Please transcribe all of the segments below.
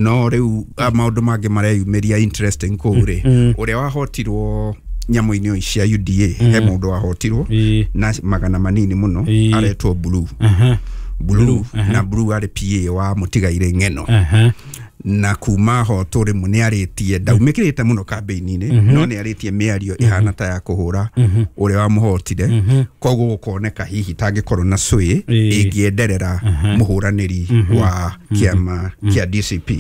No rĩu maũndũ mangĩ mareyumĩria interesting kũu rĩ, ũrĩa wahotirwo nyamũ-inĩ cia UDA, he mũndũ wahotirwo na magana manini mũno, aretwo Blue. Blue, na Blue arĩ PA wa Mũtigairĩ Ng'eno. Na kuma hotwo rĩmwe nĩ arĩtie, ndaumĩkĩrĩte mũno kambĩini-inĩ, no nĩ arĩtie mĩario ĩhana ta ya kũhũra ũrĩa wamũhotire. Koguo gũkoneka hihi tangĩkorwo na sway ĩngĩenderera mũhũranĩri wa kĩama kĩa DCP.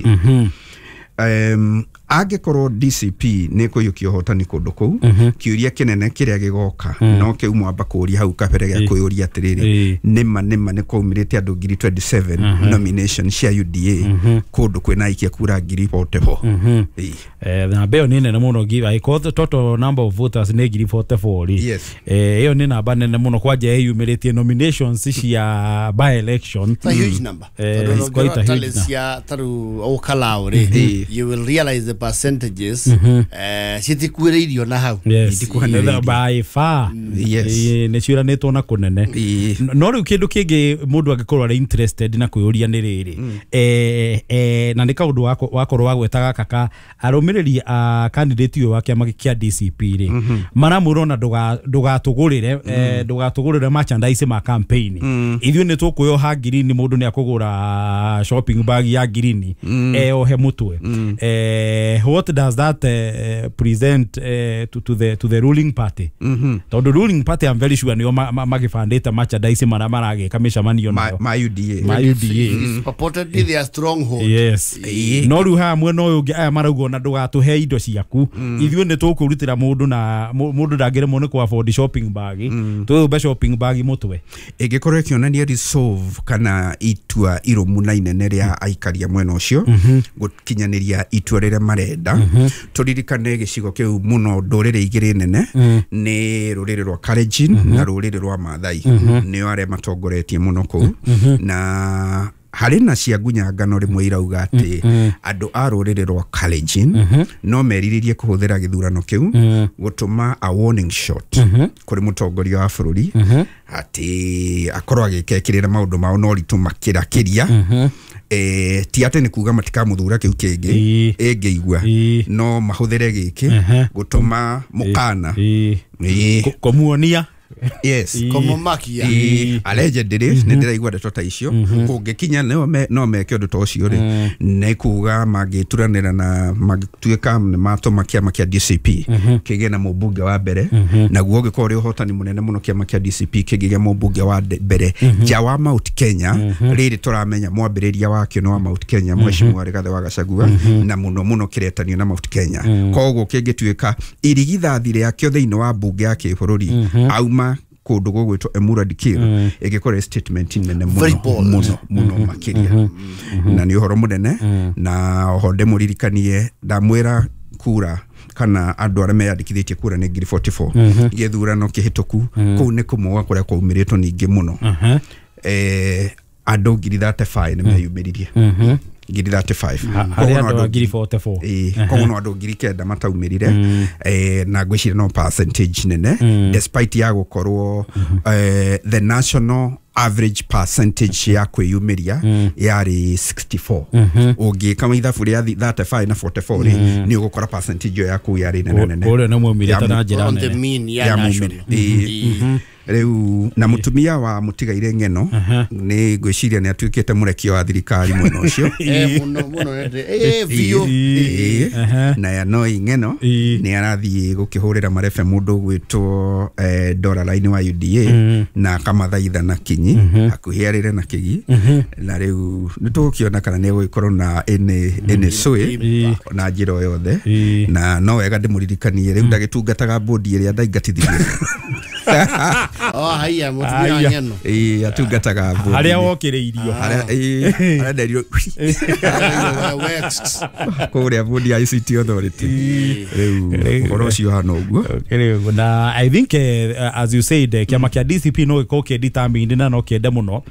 Angĩkorwo DCP nĩ kũiyũkia ũhotani kũndũ kũu, kĩũria kĩnene kĩrĩa gĩgoka no kĩu mwamba kũũria hau kabere gĩa kwĩyũria atĩrĩrĩ, nĩma nĩma nĩ kwaumĩrĩte andũ ngiri 27 nomination cia UDA kũndũ kwĩna aikia kura ngiri 44? Ĩĩ. Namba ĩyo nĩ nene mũno, angĩkorwo total number of voters nĩ ngiri 44 rĩ, ĩyo nĩ namba nene mũno kwanja ĩyumĩrĩtie nominations cia by election. It's a huge number. Tondũ It's quite a ũngĩrora huge tally number. cia tarĩu Olkalau rĩ, you will realize the percentages citikuĩrĩirio na hau. Itikuhanĩrĩirie. By far. Nĩ ciũranĩtwo na kũnene. No rĩu kĩndũ kĩngĩ mũndũ angĩkorwo arĩ interested na kwĩyũria nĩ rĩrĩ, na nĩ kaũndũ wakorwo wagweta gaka ka arũmĩrĩri a candidate ũyũ wa kĩama kĩa DCP rĩ, maramwĩra ona ndũgatũgũrĩre merchandise ma campaign, ithuĩ nĩ tũkwĩoha ngirini, mũndũ nĩ akũgũra shopping bag ya ngirini eohe mũtwe. What does that present to the ruling party? Tondũ ruling party, I'm very sure nĩo magĩbandĩte merchandise marĩa maragĩka mĩcemanio ma, nayo ma UDA. Ma UDA. It's purportedly their stronghold. Yes. No rĩu haha mwena ũyũ ũngĩ aya marauga ona ndũgatũhe indo ciaku, ithuĩ nĩ tũkwĩrutĩra mũndũ na mũndũ ndangĩremwo nĩ kũ afford shopping bag, twĩyũmbe shopping bag mũtwe. Ĩngĩkorwo ĩkĩonania resolve kana itua irũmu na inene rĩa aikaria mwena ũcio gũkinyanĩria itua rĩrĩa marenda. Tũririkane gĩcigo kĩu mũno ndũrĩrĩ igĩrĩ nene nĩ rũrĩrĩ rwa Kalenjin na rũrĩrĩ rwa Maathai, nĩo arĩa matongoretie mũno kũu, na harĩ na cia ngunyangano rĩmwe irauga atĩ andũ a rũrĩrĩ rwa Kalenjin no merirĩrie kũhũthĩra gĩthurano kĩu gũtũma a warning shot kũrĩ mũtongoria wa bũrũri atĩ akorwo agĩkekĩrĩra maũndũ mao no ritũ makĩrakĩria. Ti atĩ nĩ kuga matikamũthura kĩu kĩngĩ ĩngĩigua, no mahũthĩre gĩkĩ gũtũma mũkana. Kũmuonia. Kũmũmakia. Allegedly nĩ ndĩraigua ndeto ta icio, kũngĩkinya no meke ũndũ ta ũcio rĩ, nĩ kuga mangĩturanĩra na mangĩtuĩka nĩ matũma kĩama kĩa DCP kĩgĩe na mũmbunge wa mbere, naguo ũngĩkorwo ũrĩ ũhotani mũnene mũno kĩama kĩa DCP kĩngĩgĩa mũmbunge wa mbere nja wa Mount Kenya. Rĩrĩ tũramenya mwambĩrĩria wakĩo nĩ wa Mount Kenya, Mheshimiwa Rigathĩ wa Gachagua, na mũno mũno kĩretanio na Mount Kenya. Koguo kĩngĩtuĩka irigithathi rĩakĩo thĩinĩ wa mbunge ya kĩbũrũri auma kũndũ gũgwĩtwo Emurua Dikirr, ĩngĩkorwo ĩ statement nene Very mũno bold. mũno mũno makĩria, na nĩ ũhoro mũnene. Na oho ndĩmũririkanie, ndamwĩra kura kana andũ arĩa meyandĩkithĩtie kura nĩ ngiri 44 gĩthurano kĩhĩtũku, kũu nĩ kũmũga kũrĩa kwaumĩrĩtwo ningĩ mũno. Andũ ngiri 35 nĩ meyumĩririe, ngiri 35. Harĩ Koguo no andũ a ngiri 44. Ĩĩ, koguo no andũ 9,000 mataumĩrire, na ngwĩciria no percentage nene despite ya gũkorwo the national average percentage ya kwĩyumĩria yarĩ 64. Ũngĩka ithabu rĩa 35 na 44 rĩ, nĩ ũgũkora percentage ĩyo ya kũu yarĩ nene nene. Kũrĩa nĩ maumĩrĩte na njĩra On the nene. mean ya Ya national. mumĩre. Ĩĩ. Rĩu na mũtumia wa Mũtigaire Ng'eno nĩ ngwĩciria nĩ atuĩkĩte mũrekio wa thirikari mwena ũcio. Mũno mũno biũ. Na Yanoi Ng'eno nĩ arathiĩ gũkĩhũrĩra marebe mũndũ ũgwĩtwo Dora Line wa UDA na akamathaitha na kinyi hakuhĩ arĩre na kĩgi, na rĩu nĩ tũgũkĩona kana nĩ egũgĩkorwo na ĩnĩ sway na njĩra o yothe. Na no wega ndĩmũririkanie rĩu ndagĩtungataga bodi ĩrĩa ndaingatithirie. Oh, haiya, mũtumia wa Haiya. Ng'eno. Ĩĩ, atungataga bodi Harĩa wokĩrĩirio. Harĩa, ĩĩ, harĩa nderirwo Vexed. Kũrĩa bodi ya ICT Authority. Rĩu ũhoro ũcio hana ũguo. Rĩu, na I think as you said, kĩama kĩa DCP no gĩkorwo kĩ determined na no kĩende mũno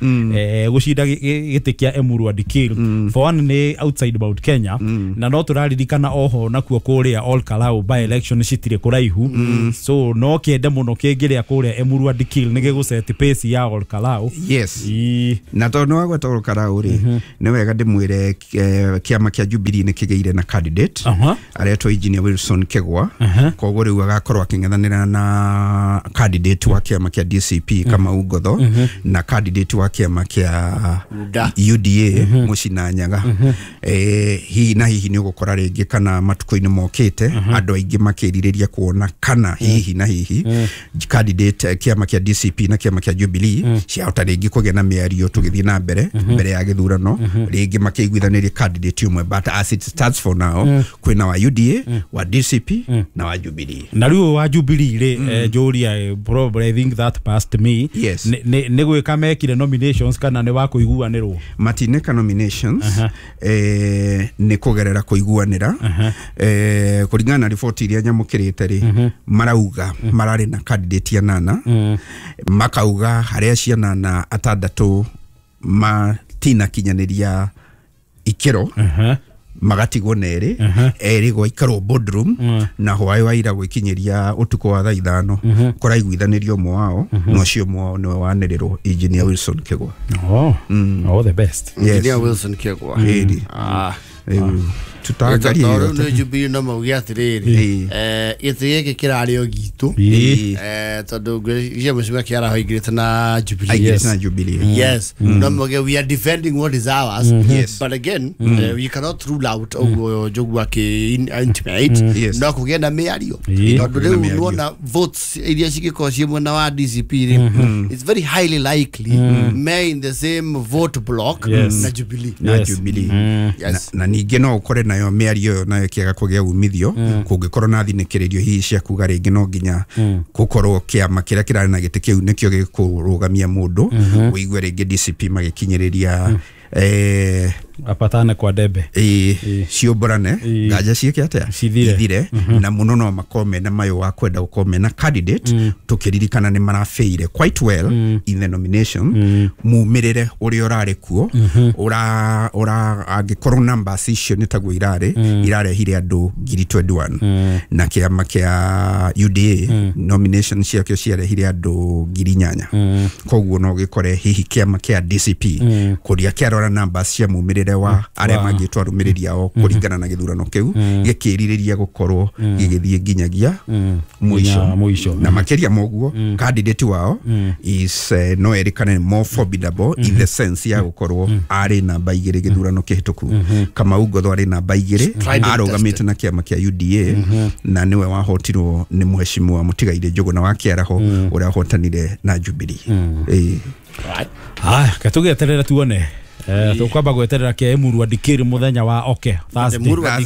gũcinda gĩtĩ kĩa Emurua Dikirr. For one, nĩ outside Mount Kenya, na no tũraririkana oho nakuo kũrĩa Ol Kalou by election citirĩ kũraihu, so no kĩende mũno kĩngĩrĩa kũrĩa Emurua Dikirr nĩ gĩgũset pace ya Olkalau. Yes. Na tondũ nĩ wagweta Olkalau rĩ, nĩ wega ndĩmwĩre kĩama kĩa Jubilee nĩ kĩgĩire na candidate aretwo Engineer Wilson Kegwa. Koguo rĩu agakorwo akĩng'ethanĩra na candidate wa kĩama kĩa DCP Kamau Ngotho na candidate wa kĩama kĩa UDA Mũcina Nyaga. Hihi na hihi nĩ ũgũkora rĩngĩ kana matukũ-inĩ mokĩte andũ aingĩ makĩrirĩria kuona kana hihi na hihi candidate kĩama kĩa DCP na kĩama kĩa Jubilee ciahota rĩngĩ kũgĩa na mĩario tũgĩthiĩ na mbere mbere ya gĩthurano, rĩngĩ makĩiguithanĩria candidate ũmwe, but as it stands for now kwĩna wa UDA, wa DCP na wa Jubilee. Na rĩu wa Jubilee rĩ, njũria, probably I think that passed me. Yes. Nĩ gwĩka mekire nominations kana nĩ wa kũiguanĩrwo? Matineka nominations, nĩ kũgerera kũiguanĩra. Kũringana na riboti iria nyamũkĩrĩte rĩ, marauga mararĩ na candidate anana, makauga harĩa cianana atandatũ matinakinyanĩria ikĩro, magatigwo na erĩ, erĩ gwaikarwo boardroom na hwaĩ wa ira gwĩkinyĩria ũtukũ wa thaa 5 kũraiguithanĩrio ũmwe wao, na ũcio ũmwe wao nĩwe wanĩrĩrwo Engineer Wilson Kegwa. Oh, all the best. Yes. Engineer Wilson Kegwa. Tutaangaria nĩ Jubilee no mauge atĩrĩrĩ, gĩtĩ gĩkĩ kĩrarĩ o gitũ, tondũ ngwĩciria mũcimia kĩaraho aingĩrĩte na Jubilee. Yes. Na Jubilee. Yes. No mauge we are defending what is ours. Yes. But again, we cannot rule out ũguo Njogu akĩ intimate. Yes. No kũgĩe na mĩario, tondũ rĩu nĩwona votes iria cingĩkorwo ciĩ mwena wa DCP rĩ, it's very highly likely me in the same vote block na Jubilee. Na Jubilee. Yes. Na ningĩ no ũkore nayo mĩario ĩyo nayo ĩkĩaga kũgĩa umithio, kũngĩkorwo na thinĩkĩrĩrio hihi cia kuga rĩngĩ no nginya gũkorwo kĩama kĩrĩa kĩrarĩ na gĩtĩ kĩu nĩkĩo gĩkũrũgamia mũndũ, ũigue rĩngĩ DCP magĩkinyĩrĩria apatane kwa debe, ciũmbũrane nganja ciĩke atĩa ithire, na mũno no makorwo mena mayũ wa kwenda gũkorwo mena candidate, tũkĩririkana nĩ marafeire quite well in the nomination, mumĩrĩre ũrĩa ũrarĩ kuo, ũra angĩkorwo numbers icio nĩ taguo irarĩ, irarehire andũ 21,000, na kĩama kĩa UDA nomination ciakĩo ciarehire andũ 8,000. Koguo no gĩkore hihi kĩama kĩa DCP kũrĩa kĩarora numbers cia mumĩrĩre wa arĩa mangĩtwo arũmĩrĩri ao kũringana na gĩthurano kĩu gĩkĩrirĩria gũkorwo gĩgĩthiĩ nginyagia mũico. Na makĩria moguo candidate wao is no erĩkane more formidable in the sense ya gũkorwo arĩ namba 2 gĩthurano kĩhĩtũku. Kamau Ngotho arĩ namba 2, arũgamĩte na kĩama kĩa UDA, na nĩwe wahotirwo nĩ mũheshimiwa Mũtigairĩ Njũgũna wa Kĩaraho ũrĩa wahotanire na Jubilee. Haya, katũgĩeterera tuone. Tukwamba gweterera kia Emurua Dikirr muthenya wa oke Thursday. Emurua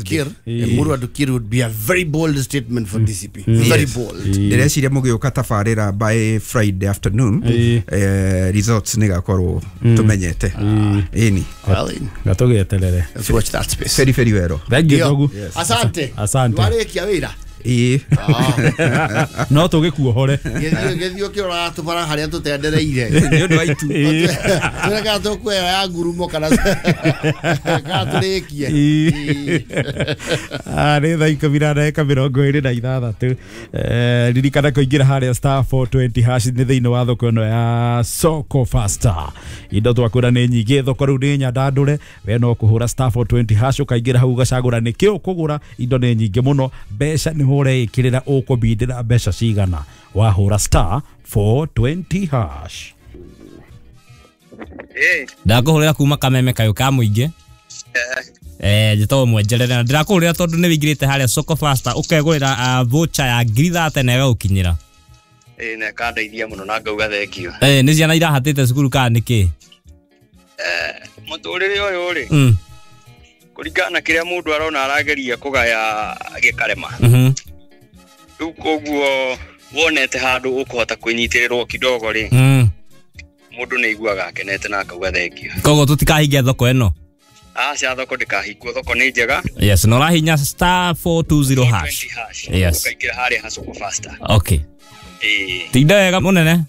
Dikirr would be a very bold statement for DCP. Very bold. Ndĩreciria mũgĩũka tabarĩra by Friday afternoon, results nĩgakorwo tũmenyete. Ĩni. Gatũgĩeterere. Let's watch that space. Very very well. Thank you Njogu. Asante. Asante. Warĩkia wĩra. No tũgĩkuohore. Gĩthiĩ ũkĩroraga tũbara harĩa tũtendereire. Nĩ ũndũ wa itu. Tũreka tũkuoya ya ngurumo kana tũrĩkie. Nĩ thaa 10:26. Ririkana kũingĩra harĩa star 420 hash nĩ thĩinĩ wa thoko ĩno ya Soko Faster. Indo twakwĩra nĩ nyingĩ, thoko rĩu nĩ nyandandũre, we no kũhũra star 420 hash ũkaingĩra hau ũgacagũra nĩkĩ ũkũgũra. Indo nĩ nyingĩ mũno, mbeca nĩho ũreĩkĩrĩra ũkũbindĩra mbeca cigana wahũra star 420 hash. Ndakũhũrĩra kuma kameme kayũ ka mũingĩ. Njĩtagwo Mwenjerere na ndĩrakũhũrĩra tondũ nĩ wĩingĩrĩte harĩa Soko Faster ũkegũrĩra voucher ya 30,000 na ĩgagũkinyĩra. Na ĩkandeithia mũno na ngauga thengio. Nĩ ciana irahatĩte cukuru kana nĩkĩ? Mũtũrĩre ũyũ rĩ, kũringana na kĩrĩa mũndũ arona arageria kũgaya gĩkarema. Rĩu koguo wonete handũ ũkũhota kwĩnyitĩrĩrwo kidogo rĩ, mũndũ nĩ aiguaga akenete na akauga thengio. Koguo tũtikahingia thoko ĩno? Aca, thoko ndĩkahingwo, thoko nĩ njega. Yes, na ũrahinya star 420 hash. Yes. Ũkaingĩra harĩa ha Soko Faster. Okay. Tinda wega mũnene.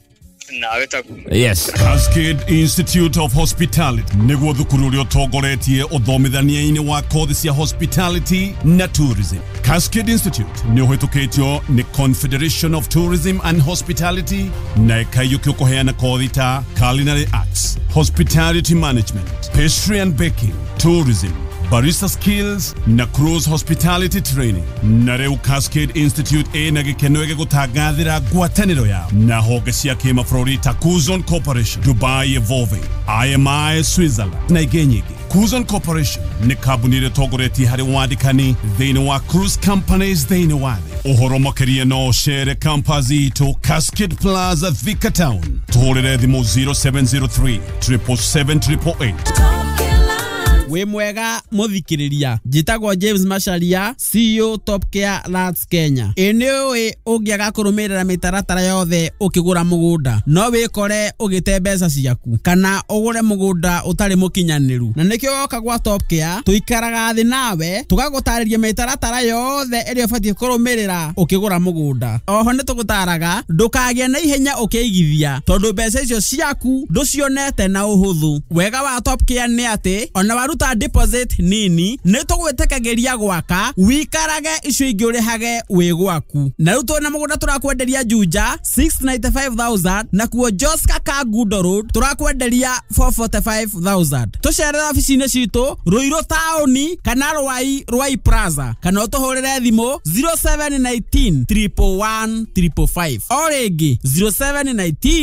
Nawe taguo. Yes. Cascade Institute of Hospitality nĩguo thukuru ũrĩa ũtongoretie ũthomithania-inĩ wa kothi cia hospitality na tourism. Cascade Institute nĩ ũhĩtũkĩtio nĩ Confederation of Tourism and Hospitality na ĩkaiyũkio kũheana kothi ta culinary arts, hospitality management, pastry and baking, tourism, barista skills na cruise hospitality training. Na rĩu Cascade Institute ĩna gĩkeno gĩgũtangathĩra ngwatanĩro yao na honge cia kĩmabũrũri ta Kuzon Corporation, Dubai Evolving, IMI Switzerland na ingĩ nyingĩ. Kuzon Corporation nĩ kambuni ĩrĩa ĩtongoretie harĩ wandĩkani thĩinĩ wa cruise companies thĩinĩ wa thĩ. Ũhoro makĩria no ũcere campus itũ Cascade Plaza, Thika Town. Tũhũrĩre thimũ 0703 777 888. Wĩ mwega mũthikĩrĩria, njĩtagwo James Macharia, CEO Top Care Lands Kenya. Ĩ nĩ ũĩ ũngĩaga kũrũmĩrĩra mĩtaratara yothe ũkĩgũra mũgũnda no wĩkore ũgĩte mbeca ciaku kana ũgũre mũgũnda ũtarĩ mũkinyanĩru, na nĩkĩo woka gwa Top Care tũikaraga thĩ nawe tũgagũtarĩria mĩtaratara yothe ĩrĩa ũbatiĩ kũrũmĩrĩra ũkĩgũra mũgũnda. Oho nĩ tũgũtaraga ndũkagĩe na ihenya ũkĩigithia tondũ mbeca icio ciaku ndũcionete na ũhũthũ. Wega wa Top Care nĩ atĩ ona waruta deposit nini nĩ tũgwĩtĩkagĩria gwaka wikarage icio ingĩ ũrĩhage wĩ gwaku. Na rĩu twĩna mũgũnda tũrakwenderia Juja 695,000 na kuo Joska Kangundo Road tũrakwenderia 445,000. Tũcerere obici-inĩ citũ Ruiru taũni kana Rwai Rwai Plaza kana ũtũhũrĩre thimũ 0719 111 555. O rĩngĩ 0719.